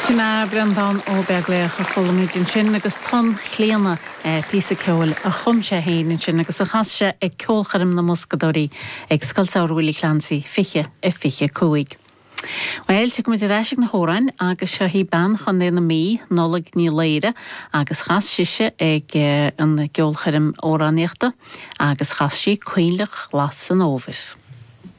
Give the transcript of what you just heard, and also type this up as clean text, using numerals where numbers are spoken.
Sin é Breandán Ó Beaglaoich a chuala muid ansin agus Tonn Chlíodhna, píosa ceoil a chum sé féin ansin agus a chas sé ag Ceolchoirm na mBoscadóirí ag Scoil Samhraidh Willie Clancy 20 a 25. Bhuel, tiocfaidh muid ar ais ag na hamhráin agus seo í bean Chontae na Mí, Nollaig Ní Laoire, agus chas sise ag an gceolchoirm amhránaíochta agus chas sí Coinleach Ghlas an Fhómhair.